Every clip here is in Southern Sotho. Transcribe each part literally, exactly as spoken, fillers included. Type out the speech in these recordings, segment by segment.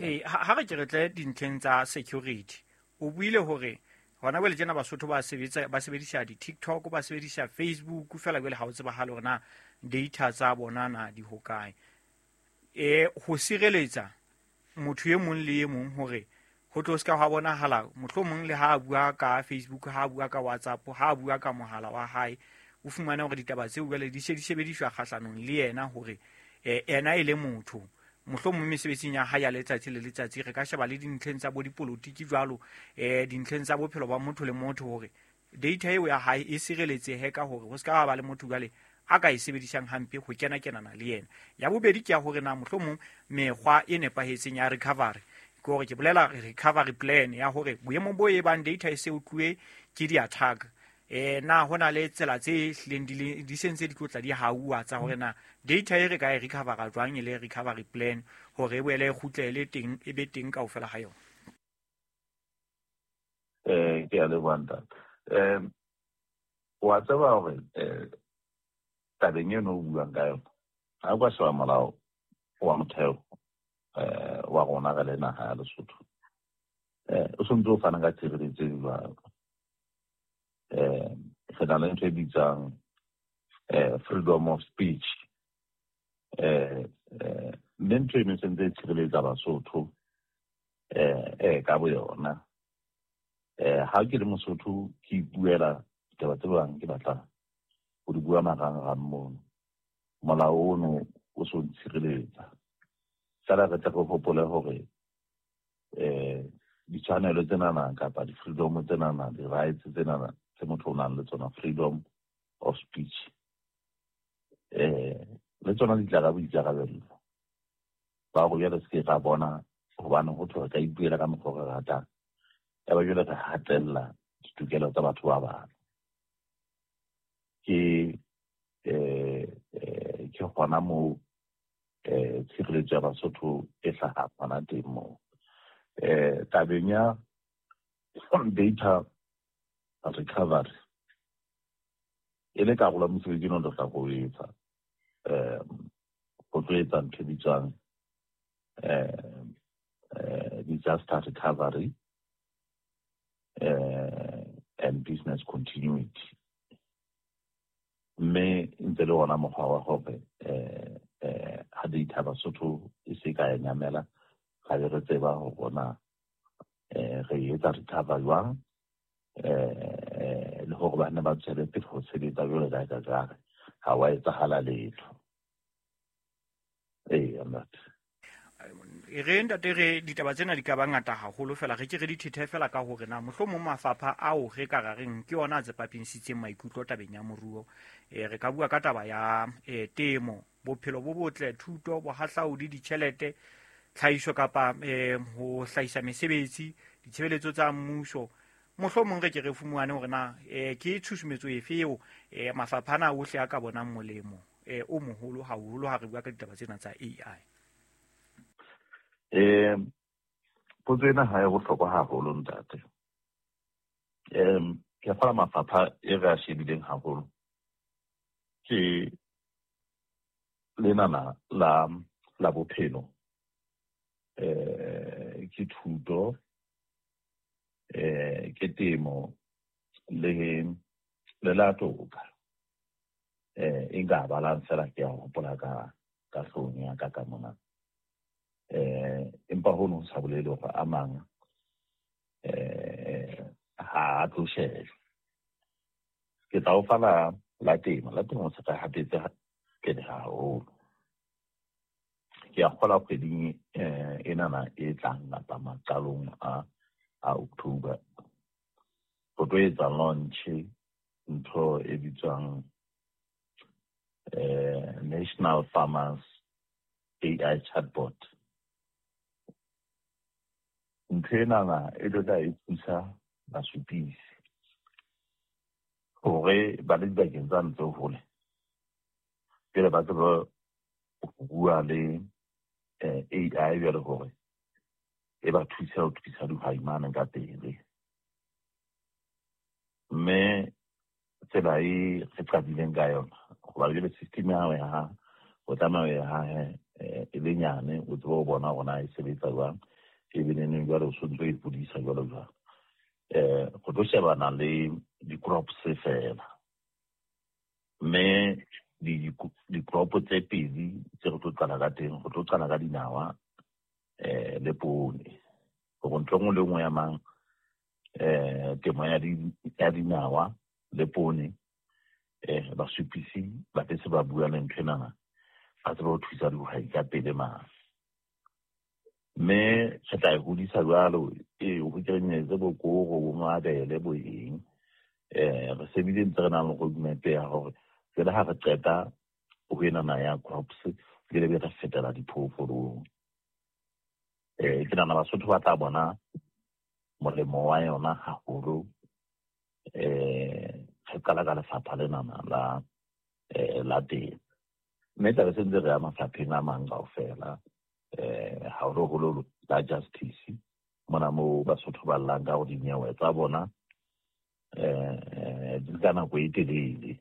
Eh ha re ke re tle dintlheng tsa security, o buile hore hona jwale tjena Basotho ba sebetsa ba sebedisa di-TikTok, ba sebedisa Facebook fela jwale ha o tsebahale hore na data tsa bona na di hokae. E ho sireletsa motho e mong le e mong hore ho tlo ska ha bonahala mohlomong le ha a bua ka Facebook, ha a bua ka WhatsApp, ha a bua ka mohala wa hae, o fumane hore ditaba tseo jwale di se di sebediswa kgahlanong le yena hore ena e le motho mohlomong mesebetsing ya hae ya letsatsi le letsatsi. Re ka sheba le dintlheng tsa bo dipolotiki jwalo, eh dintlheng tsa bophelo ba motho le motho hore data eo ya hae e sireletsehe ka hore ho ska ba le motho jwale a ka e sebedisang hampe ho kena kenana le yena. Ya bobedi ke ya hore na mohlomong mekgwa e nepahetseng ya recovery, ke hore ke bolela recovery plan ya hore boemong bo e bang data e se utluwe ke di-attack, eh na hona le tsela tse hlileng di di sentse di tlotla di hauwa tsa hore na data e re ka e recover jwang e le recovery plan hore e boele e kgutlele teng e be teng kaofela ha yona. Eh ke a leboha ntate. Eh wa tseba hore eh tabeng eno o buang ka yona, ha o ka sheba molao wa motheo eh wa rona re le naha ya Lesotho, eh o sontse o fana ka tshireletso e jwalo. Eh re na le ntho e bitswang eh freedom of speech, eh eh mme ntho eno e sentse e tshireletsa Basotho eh eh ka boyona. Eh ha ke le Mosotho ke ipuela ditaba tse bang ke batla ho di bua marangrang mono, molao ono o so ntshireletsa. Fela re tle re hopole hore eh ditshwanelo tsenana kapa di-freedom tsenana, di-rights tsenana tse motho o nang le tsona, freedom of speech, eh le tsona di tla ka boikarabello ba go jwale se ke ra bona hobane ho thwe re ka ipuela ka mokgwa o re ratang, ya ba jwale re hatella ditokelo tsa batho ba bang. Ke eh eh ke hona moo eh tshireletso ya Basotho e hlahang hona teng moo. Eh tabeng ya data recovery e le karolo ya mosebetsi ono re tla go etsa, eh go tlo etsa ntho e bitswang eh eh disaster recovery eh and business continuity, mme ntse le ona mokgwa wa hore eh eh ha data Basotho e se ka ya nyamela, ga be re tseba hore ona eh re etsa recover jwang, eh le hore ba ne ba tswele pele ho sebetsa jwalo ka ka jare ha wa etsahala letho. Ee, ntate. E re ntate, re ditaba tsena di ka ba ngata haholo fela re ke re di thethe fela ka hore na mohlomong mafapha ao re ka ra reng ke ona a tsepamisitseng maikutlo tabeng ya moruo. E re ka bua ka taba ya e, temo, bophelo bo botle, thuto, bohahlaudi, ditjhelete, tlhahiso kapa e, ho hlahisa mesebetsi, ditshebeletso tsa mmuso. Mohlomong re ke re fumane hore na e, ke tshusumetso efe eo e, mafapha ana ohle a ka bonang molemo e, o moholo haholo ha re bua ka ditaba tsena tsa A I. Eh potso ena ha e bohlokwa haholo ntate. Em ke fala mafapha e re a shebileng haholo ke lenana la la bophelo, eh ke thuto, eh ke temo le le la toka. Eh e nka balang fela ke a hopola ka ka hloohong ya ka ka mona. Eh empa hono sa bolele hore a mang eh ha a tlo shejwa. Ke tla o fa la la temo, la temo se ka hatetse pele haholo. Ke a kgolwa kgweding eh enana e tlang kapa maqalong a a October ho tlo etsa launch ntho e bitswang eh National Farmers A I Chatbot. Ntho enana e tlo tla e thusa basupisi hore ba le dibakeng tsa ntse hole pele ba tsebe ho bua le eh, A I jwale hore e ba thuse ho thusa dihwai mane ka pele. Mme tsela e re qadileng ka yona, hoba jwale system ya hao ya ha o tlameha o e hahe e le nyane, o tsebe ho bona hore na e sebetsa jwang. E be neneng jwale o sontso e ipodisa jwalo jwalo. Eh go tlo shebana le di-crops fela, mme di-crop tse pedi tse re tlo qala ka teng, go tlo qala ka dinawa eh le poone, gore ntho e nngwe le nngwe ya mang eh temo ya ya dinawa le poone, eh basupisi ba tse se ba bua le ntho enana, ba tsebe ho thusa dihwai ka pele mane. Mme re tla e hodisa jwalo, e ho kenyelletse bo koro, bo mabele, bo eng. Eh re sebile ntse re nang le roadmap ya hore jwale ha re qeta ho enana ya crops, jwale be re fetela diphoofolong. Eh ke nahana Basotho ba tla bona molemo wa yona haholo, eh re qala ka lefapha lenana la eh la temo. Mme tlabe se ntse re ya mafapheng a mang kaofela, eh haholoholo la justice, mona moo Basotho ba llang ka hore dinyewe tsa bona eh di nka nako e telele.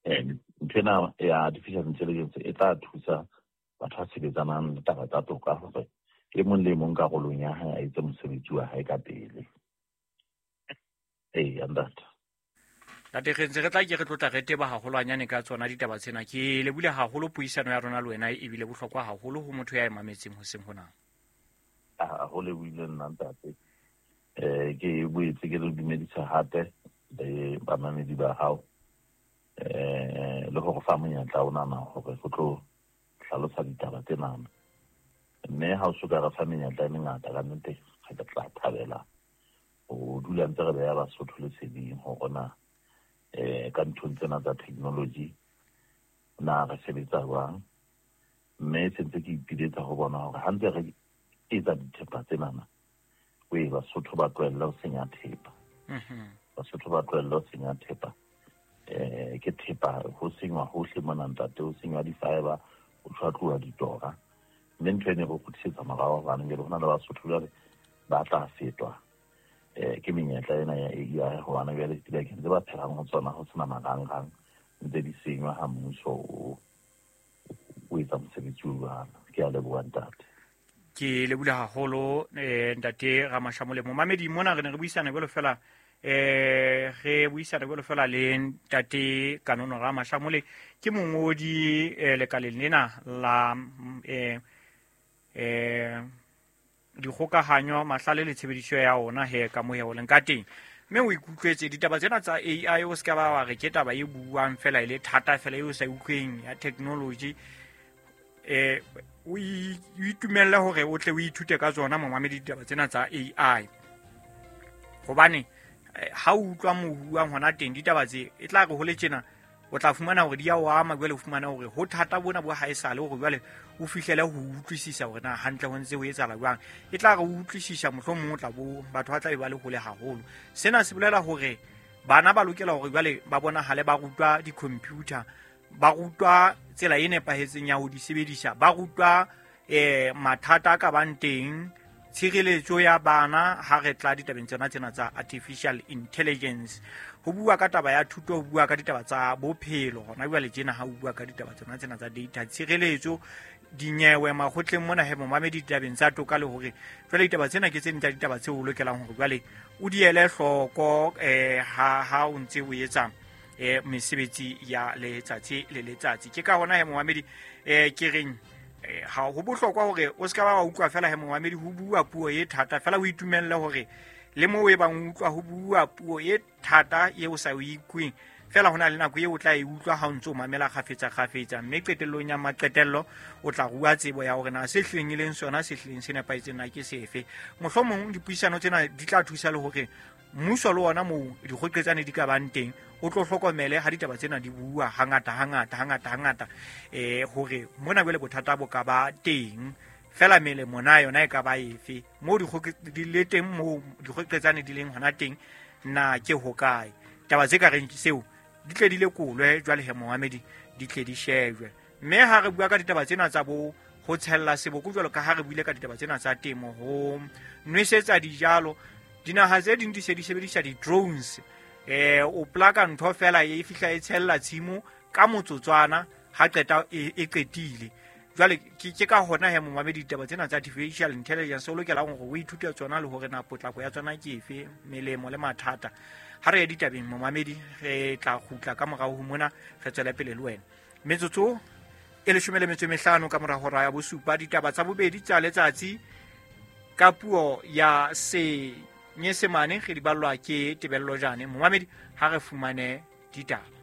Eh ntho ena ya artificial intelligence e tla thusa batho ba sebetsanang le taba tsa toka hore e mong le mong karolong ya hae a etse mosebetsi wa hae ka pele. Ee, ntate. Ntate, re ntse re tla ke re tlotla re teba haholwanyane ka tsona ditaba tsena. Ke lebule haholo puisano ya rona le wena, ebile bohlokwa haholo ho motho ya e mametseng hoseng hona. Ah, ho lebohile nna ntate. Eh ke boetse ke le dumedisa hape le bamamedi ba hao, eh le hore fa monyetla o nana hore go tlo hlalosa ditaba tsenana. Mme ha o soka re fa menyetla e mengata ka nnete, re tla thabela ho dula ntse re beha Basotho leseding hore na eh ka nthong tsena tsa technology na re sebetsa jwang. Mme se ntse ke ipiletsa ho bona hore ha ntse re etsa dithepa tsenana, we Basotho ba tlohelle ho senya thepa. Basotho ba tlohelle ho senya thepa. Eh ke thepa ho senywa hohle mona ntate, ho senywa di-fiber, ho tshwatluwa ditora. Mme ntho ene re kgutlisetsa morao hobane jwale ho na le Basotho jwale ba tla fetwa eh ke menyetla ena ya A I, hobane jwale dibakeng tse ba phelang ho tsona ho sena marangrang, ntse di senywa ha mmuso o o etsa mosebetsi o jwalo. Ke a leboha ntate. Ke lebule haholo eh ntate Ramashamole. Momamedi mona re ne re buisana jwalo fela, eh re buisana jwalo fela le ntate Kanono Ramashamole, ke mongodi eh, lekaleng lena la eh eh dikgokahanyo, mahlale le tshebediso ya ona he ka moya o leng ka teng. Mme o ikutlwetse ditaba tsena tsa A I, o se ka ba wa re ke taba e buang fela e le thata fela eo sa utlweng ya technology. Eh o itumelle hore o tle o ithute ka tsona momamedi ditaba tsena tsa A I, hobane ha o utlwa mohuang hona teng ditaba tse e tla re ho le tjena, o tla fumana hore di a o ama jwale, o fumana hore ho thata bona bo ha esale hore jwale o fihlele ho utlwisisa hore na hantle ho ntse ho etsahala jwang. E tla re o utlwisisa mohlomong o tla bo batho ba tla be ba le hole haholo. Sena se bolela hore bana ba lokela hore jwale ba bonahale ba rutwa di-computer, ba rutwa tsela e nepahetseng ya ho di sebedisa, ba rutwa eh mathata a ka bang teng, tshireletso ya bana ha re tla ditabeng tsena tsena tsa artificial intelligence. Ho bua ka taba ya thuto, ho bua ka ditaba tsa bophelo hona jwale tjena, ha ho bua ka ditaba tsena tsena tsa data, tshireletso, dinyewe makgotleng mona he momamedi ditabeng tsa toka, le hore jwale ditaba tsena ke tse ding tsa ditaba tseo o lokelang hore jwale o di ele hloko eh ha ha o ntse o etsa eh mesebetsi ya letsatsi le letsatsi. Ke ka hona he momamedi eh ke reng ha ho bohlokwa hore o se ka ba wa utlwa fela he momamedi ho bua puo e thata fela, o itumelle hore le moo e bang utlwa ho bua puo e thata eo o sa o ikweng fela, hona le nako eo o tla e utlwa ha o ntse o mamela kgafetsa kgafetsa, mme qetellong ya maqetello o tla rua tsebo ya hore na se hlileng e leng sona se hlileng se nepahetseng na ke sefe. Mohlomong dipuisano tsena di tla thusa le hore mmuso le ona moo dikgoqetsane di ka bang teng o tlo hlokomele ha ditaba tsena di bua hangata hangata hangata hangata, eh hore mona jwale bothata bo ka ba teng fela melemo na yona e ka ba efe moo di le teng, moo dikgoqetsane di leng hona teng na ke hokae. Taba tse ka reng seo di tle di lekolwe jwale he momamedi, di tle di shejwe. Mme ha re bua ka ditaba tsena tsa bo ho tshella seboko jwalo ka ha re buile ka ditaba tsena tsa temo, ho nwesetsa dijalo, dinaha tse ding di se di sebedisa di-drones. Eh o plaka ntho fela e fihla e tshella tshimo ka motsotswana ha qeta e qetile. Jwale ke ke ka hona he momamedi ditaba tsena tsa artificial intelligence o lokelang hore o ithute tsona le hore na potlako ya tsona ke efe, melemo le mathata. Ha re ye ditabeng momamedi, re tla kgutla ka morao ho mona, re tswele pele le wena. Metsotso e leshome le metso e mehlano ka mora hora ya bosupa, ditaba tsa bobedi tsa letsatsi ka puo ya Senyesemane re di ballwa ke Tebello Jane. Momamedi, ha re fumane ditaba.